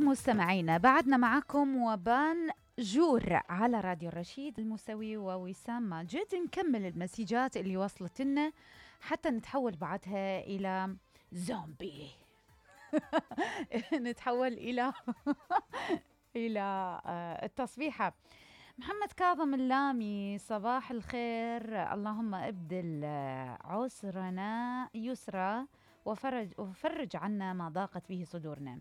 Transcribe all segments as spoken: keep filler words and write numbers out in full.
مستمعينا، بعدنا معكم وبان جور على راديو الرشيد الموسوي ووسام ماجد. نكمل المسيجات اللي وصلت لنا حتى نتحول بعدها إلى زومبي. نتحول إلى إلى التصبيحة. محمد كاظم اللامي، صباح الخير، اللهم ابدل عسرنا يسرا وفرج, وفرج عنا ما ضاقت به صدورنا.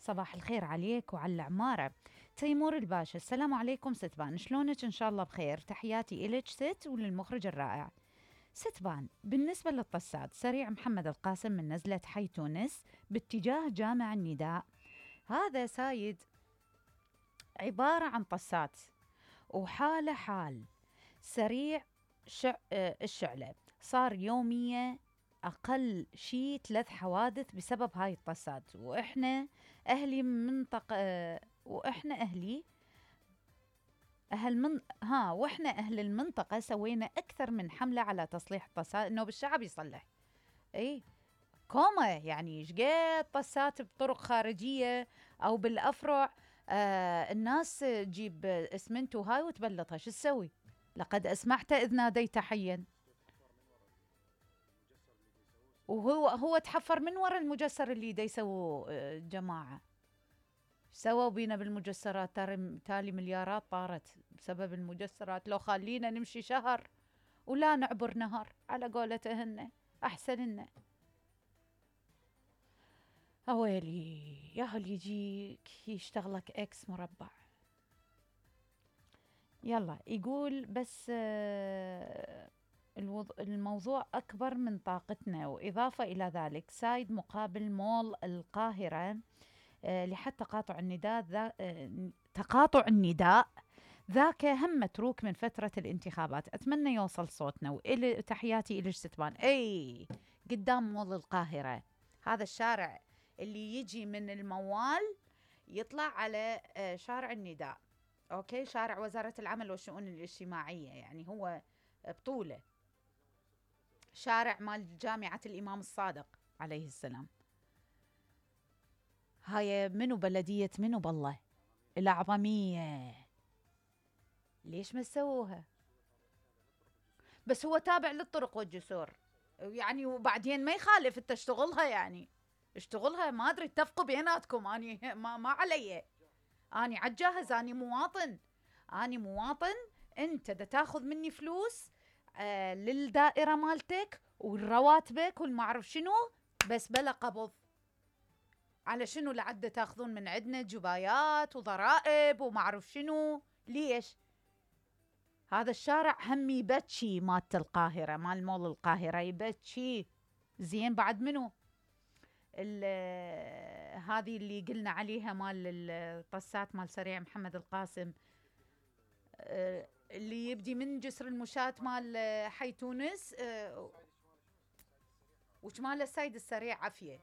صباح الخير عليك وعلى العمارة. تيمور الباشا، السلام عليكم ستبان، شلونك؟ إن شاء الله بخير، تحياتي إلك ست وللمخرج الرائع. ستبان، بالنسبة للطسات، سريع محمد القاسم من نزلة حي تونس باتجاه جامع النداء. هذا سايد عبارة عن طسات وحالة حال سريع شع... الشعلة، صار يومية أقل شيء ثلاث حوادث بسبب هاي الطسات، وإحنا أهلي منطقة وإحنا أهلي أهل من ها وإحنا أهل المنطقة سوينا أكثر من حملة على تصليح الطسات، إنه بالشعب يصلح. إيه كومة يعني شقد طسات بطرق خارجية أو بالأفرع، آه الناس تجيب اسمنت وهاي وتبلطها، شو تسوي؟ لقد أسمعت إذ ناديت حيا. وهو هو تحفر من وراء المجسر اللي دا يسووا جماعة. سووا بينا بالمجسرات، تالي مليارات طارت بسبب المجسرات. لو خلينا نمشي شهر ولا نعبر نهر على قولتهن أحسن لنا. أويلي يا هل يجيك يشتغلك إكس مربع. يلا يقول بس الموضوع أكبر من طاقتنا، وإضافة إلى ذلك سايد مقابل مول القاهرة لحد تقاطع النداء ذا تقاطع النداء ذاك هم متروك من فترة الانتخابات. أتمنى يوصل صوتنا، وإلي تحياتي إلى ستبان. أي قدام مول القاهرة، هذا الشارع اللي يجي من الموال يطلع على شارع النداء، أوكي، شارع وزارة العمل والشؤون الاجتماعية، يعني هو بطولة شارع مال جامعة الإمام الصادق عليه السلام. هاي منو بلدية منو بالله الأعظمية، ليش ما سووها؟ بس هو تابع للطرق والجسور يعني، وبعدين ما يخالف انت اشتغلها، يعني اشتغلها، ما ادري اتفقوا بيناتكم، اني ما, ما علي، اني عالجاهز، اني مواطن، اني مواطن، انت دا تاخذ مني فلوس آه للدائرة مالتك والرواتبك والمعرف شنو، بس بلا قبض. على شنو لعد تاخذون من عندنا جبايات وضرائب ومعرف شنو؟ ليش؟ هذا الشارع هم يبتشي مالت القاهرة، مال مول القاهرة يبتشي زين. بعد منو هذه اللي قلنا عليها مال الطسات مال سريع محمد القاسم، اللي يبدي من جسر المشاة مال حي تونس وشمال السيد السريع عفية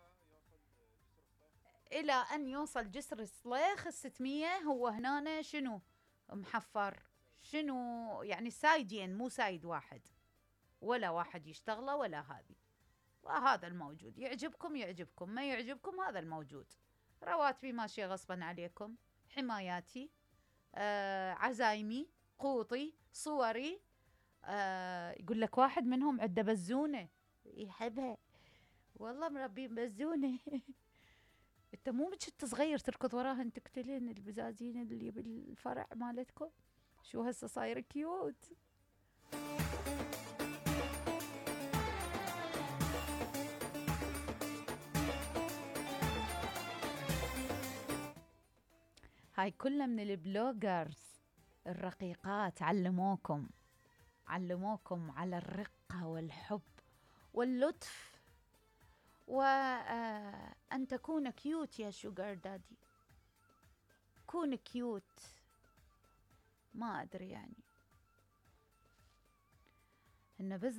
إلى أن يوصل جسر الصليخ الستمية. هو هنا شنو محفر، شنو يعني سايدين، مو سايد واحد، ولا واحد يشتغله ولا هذه. وهذا الموجود، يعجبكم يعجبكم، ما يعجبكم هذا الموجود. رواتبي ماشية غصبا عليكم، حماياتي، آه، عزايمي، قوطي، صوري. آه، يقول لك واحد منهم عنده بزونة يحبها، والله مربين بزونة. انت مو بشت صغير تركض وراهن تقتلين البزازين اللي بالفرع مالتكم؟ شو هسه صاير كيوت. هاي كلها من البلوجرز الرقيقات، علموكم علموكم على الرقة والحب واللطف، وأن تكون كيوت يا شوغر دادي. كون كيوت، ما أدري يعني إنه بس